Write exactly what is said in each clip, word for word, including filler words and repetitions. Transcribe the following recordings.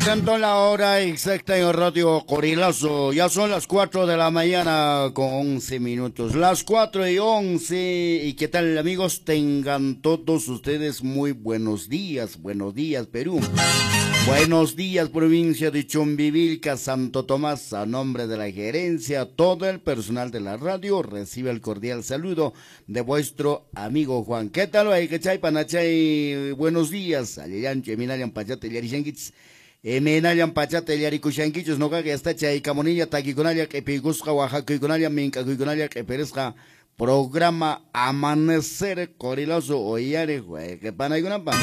Atento la hora exacta en Radio Qorilazo. Ya son las cuatro de la mañana con once minutos. Las cuatro y once. ¿Y qué tal, amigos? Tengan todos ustedes muy buenos días. Buenos días, Perú. Buenos días, provincia de Chumbivilca, Santo Tomás. A nombre de la gerencia, todo el personal de la radio recibe el cordial saludo de vuestro amigo Juan. ¿Qué tal? Buenos días. Imaynallan pachata illarikushankichus nuqaqa yasta chaykamuniña takikunalla q'ipiykusqa waqakuykunalla mink'akuykunalla q'ipirisqa programa Amanecer Qorilazo uyariq wayqipanaykunapaq.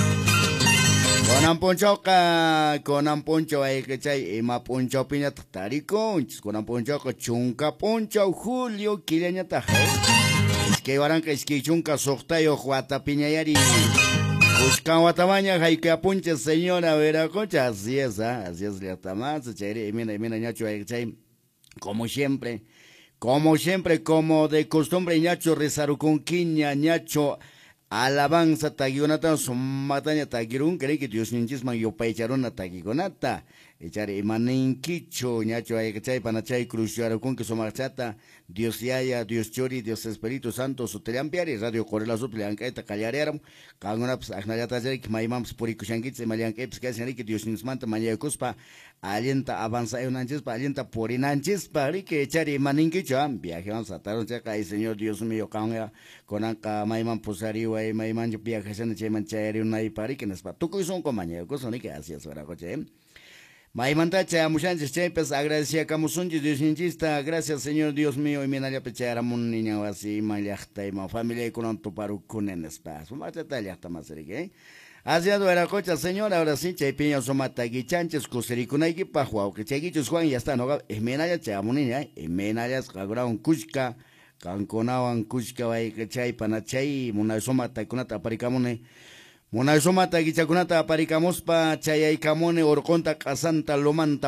Kunan p'unchawqa kunan p'unchaw wayqichay ima p'unchawpiñataq tarikunchis kunan p'unchawqa chunka p'unchaw julio killañataq iskay waranqa iskay chunka suqtayuq watapiñayari. Buscan watamaña hayk'apuncha señora Veracocha, así es, ¿eh? Así es, llaqtamasa, chayri, imina, imina, ñacho, chay, como siempre, como siempre, como de costumbre, ñacho, rezarukunkiña, ñacho, alabanza, takikunata, sumataña, takirun, creí que Dios ninchisman yupaycharuna takikunata, echar imaninkicho, ñacho, chay, panachay, cruciarukunki, sumachata, Dios Yaya, Dios Chori, Dios Espíritu Santo, sutillampiari, Radio Qorilazo, llank'ayta qallariaram, qankunapas aqnallatachari, maymanpas purikushankichis, ima llank'aypas kashanriki, Dios ninchismanta mañakuspa, allinta avanzayunanchispa, allinta purinanchispa, riki, echar imaninkicho, viaje vamos a tarun chayqa, ay Señor Dios mío, qanqa kunanqa mayman pusariway, mayman viajashani chayman chayariunaypa, riki, nispa, tukuy sunqu mañakusun, riki, así es, waraqucha, maymanta chayamushanchis chaypas agradeciakamusunchis Diosninchista, gracias Señor Dios mío, imaynallapi chayaramun niña wasiman llaqtayman familiaykunan tuparukuni nispa, sumaqllata llaqtamasiriki, eh. Así es, waraqucha, señor, ahora sí, chaypiña sumata guichanchis kusirikunaykipaq wawqichaykichus Juan, ya está, no, imaynalla chayamuniña, imaynallas qankunawan kushka, qankunawan kushka wayqichay panachay munay sumataykunata aparikamuni. Munay sumata guichakunata aparikamuspa chayaykamuni urqunta q'asanta lumanta.